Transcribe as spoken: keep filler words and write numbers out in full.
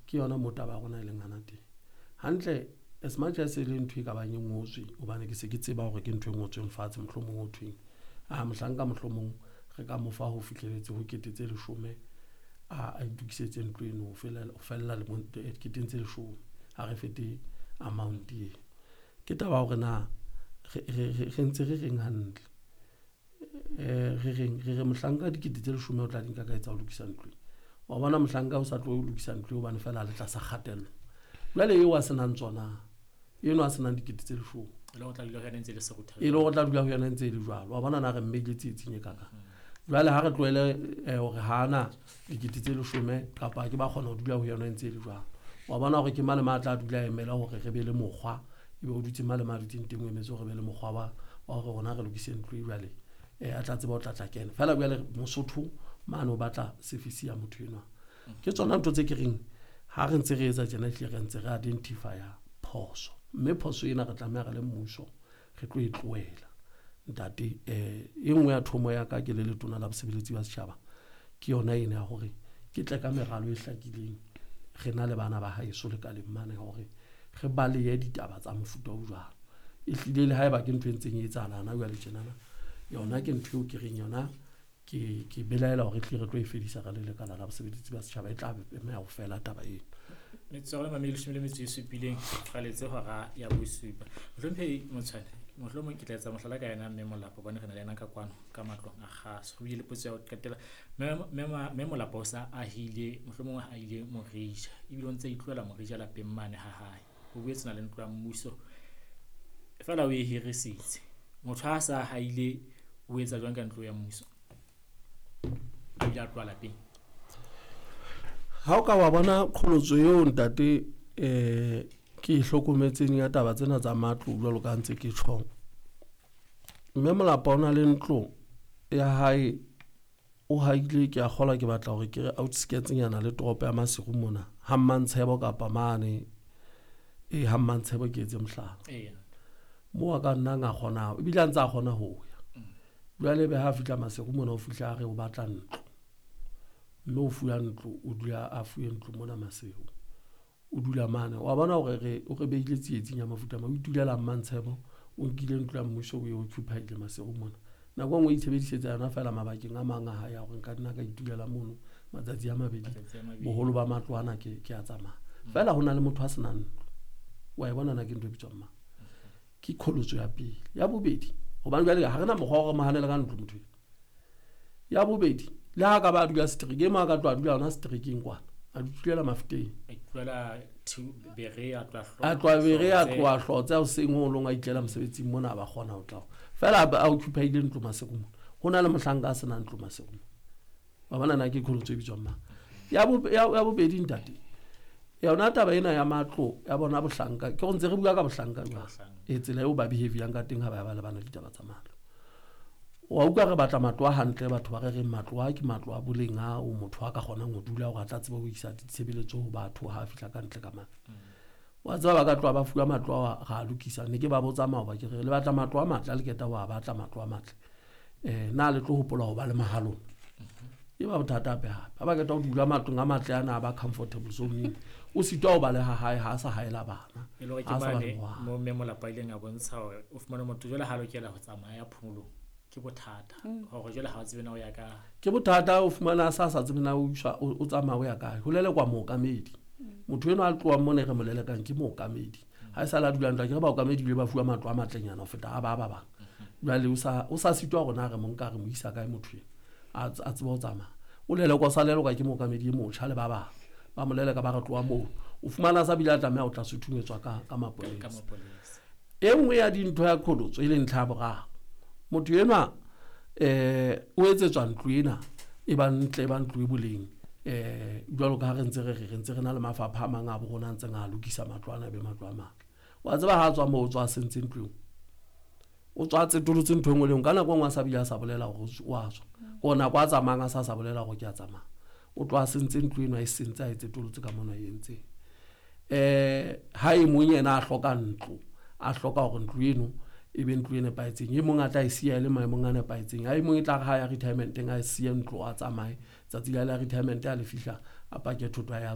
Ke yona moo taba ya rona e leng hana teng. Hantle as much as e le ntho e ka bang e ngotswe, hobane ke se ke tseba hore ke ntho e ngotsweng fatshe, mohlomong ho thweng a mohlanka mohlomong re ka mo fa ho fihlelletse ho kete tse leshome a itokisetse ntlo eno ho fella lemong keteng tse leshome, ha re fete amount eo. Ke taba ya hore na re ntse re reng hantle, re reng re re mohlanka dikete tse leshome o tla di nka ka etsa ho lokisa ntlo. Wa bona mohlanka o sa tlo lokisa ntlo hobane feela a le tlasa kgatello. Jwale eo a senang tsona, eno a senang dikete tse leshome, e le hore o tla dula ho yona ntse e le jwalo. Wa bona na re mmeile tsietsing e kakang. Jwale ha re tlohele hore ha ana dikete tse leshome kapa ke ba kgona ho dula ho yona ntse e le jwalo. Wa bona hore ke mane ma tla dula emela hore re be le mokgwa, ebe o dutse mane ma dutseng teng o emetse hore re be le mokgwa wa hore rona re lokise ntlo e jwale a tla tseba ho tla tla kena. Feela jwale Mosotho mane o batla service ya motho enwa. Ke tsona ntho tse ke reng ha re ntse re etsa tjena ehlile re ntse re identify-a phoso. Mme phoso ena re tlameha re le mmuso re tlo e tlohela. Ntate, e nngwe ya thomo ya ka ke le letona la bosebeletsi ba setjhaba ke yona ena ya hore ke tle ka meralo e hlakileng re na le bana ba haeso lekaleng mane hore re balehe ditaba tsa mofuta o jwalo. Ehlile le haeba ke ntho e ntseng e etsahala hana jwale tjenana, yona ke ntho eo ke reng yona ke ke belaela hore ehlile re tlo e fedisa re le lekala la bosebeletsi ba setjhaba, e tla be ho fela taba eno. Metsotso e mabedi leshome le metso e supileng qaletse hora ya bosupa. Mohlomphehi Motshwane, mohlomong ke tla etsa mohlala ka yena mme Molapo hobane re na le yena ka kwano ka matlong a kgaso. Ho bile le potso ya ho qetela. Mme Molapo o sa ahile, mohlomong a ile Morija ebile o ntse a itlohela Morija lapeng mane ha hae. O boetse na le ntlo ya mmuso feela o e hirisitse. Motho ha sa haile o etsa jwang ka ntlo ya mmuso? A bile a tloha lapeng. Ha o ka wa bona qholotso eo ntate eh ke e hlokometseng ya taba tsena tsa matlo jwalo ka ntse ke tjho. Mme Molapo o na le ntlo ya hae o haile, ke a kgolwa ke batla hore ke re outskirts nyana le toropo ya Maseru mona, ha Mmantshebo kapa mane e ha Mmantshebo ke etse mohlala. Moo a ka nnang a kgona ebile a ntse a kgona ho ya. Jwale ebe ha fihla Maseru mona o fihla a re o batla ntlo. Mme o fuwa ntlo, o dula a fuwe ntlo mona Maseru. O dula mane. Wa bona hore re o re behile tsietsing ya mofuta mang, o itulela Mmantshebo, o nkile ntlo ya mmuso o e occupy-ile Maseru mona. Nako e nngwe o itshebedisetsa yona feela mabakeng a mang a hae a hore nka nna ka itulela mono matsatsi a mabedi. Boholo ba matlo ana ke ke a tsamaya. Feela ho na le motho a senang ntlo. Wa e bona na ke ntho e bitswang mang? Ke qholotso ya pele. Ya bobedi, hobane jwale ha re na mokgwa wa hore mo hanele ka ntlo motho eno. Ya bobedi, le ha ka ba dula seterekeng, mo a ka tloha dula hona seterekeng kwana, a dulela Mafeteng. A itlohela Bere, a tloha A tloha Bere, a tloha Hlotse, hoseng ho long a itlela mosebetsing mona, a ba kgona ho tla. Feela a occupy-ile ntlo Maseru mona. Ho na le mohlanka a senang ntlo Maseru mona. Wa bona na ke qholotso e bitswang mang? Ya ya bobedi ntate, yona taba ena ya matlo ya bona bohlanka, ke go ntse re bua ka bohlanka jwang, e tsela eo ba behavior ka teng ha ba ba lebana ditaba tsa matlo. Wa utlwa re batla matlo a hantle, batho ba re reng matlo a ke matlo a boleng a o motho a ka kgonang ho dula hore a tla tseba ho isa ditshebeletso ho batho ha a fihla ka ntle ka mane. Wa tseba ba ka tloha ba fuwa matlo a ra lokisa, ne ke ba botsa maoba ke re le batla matlo a matle, a le keta wa batla matlo a matle. Eh na le tlo hopola ho ba le mahalong. E ba bothata hape hape. Ha ba keta ho dula matlong a matle ana a ba comfortable zone, o sitwa ho baleha hae ha a sa haela bana. E le hore ke mane mo mme Molapo a ileng a bontsha hore o fumane motho jwale ha lokela ho tsamaya phomolong. Ke bothata hore jwale ha o tsebe na o ya kae. Ke bothata o fumana a sa sa tsebe na o iswa o tsamaya o ya kae. Ho lelekwa mookamedi. Motho enwa a tlohang mona re mo lelekang ke mookamedi. Ha e sa la dula ntlo, ke re baokamedi bile ba fuwa matlo a matlenyana ho feta a ba ba bang. Jwale o sa o sa sitwa hore na re mo nka re mo isa kae motho eno. A tsebe ho tsamaya. O lelekwa, o sa lelekwa ke mookamedi e motjha le ba bang. Ba mo leleka ba re tloha moo. O fumana sa bile a tlameha ho tla suthumetswa ka ka mapolesa. E nngwe ya dintho ya qholotso e leng ntlha ya boraro. Motho enwa eh o etsetswa ntlo ena e ba ntle, e ba ntlo e boleng. Eh jwalo ka ha re ntse re re ntse re na le mafapha a mang a bo rona a ntseng a lokisa matlo ana be matlo a matle. Wa tseba ha tswa moo o tswa sentse ntlo eo. O tswa tsetolotse ntho e nngwe le nngwe. Ka nako e nngwe a sa bile a sa bolela hore o a tswa. Ke ona kwa tsamayang a sa sa bolela hore ke a tsamaya. O tloha sentse ntlo eno a e sentse a e tsetolotse ka mona e entseng. Eh ha e mong yena a hloka ntlo, a hloka hore ntlo eno e be ntlo e nepahetseng. E mong a tla e siya e le maemong a nepahetseng. Ha e mong e tla re ha ya retirement-eng a siye ntlo a tsamaye. Tsatsi la la retirement a le fihla a pake thoto ya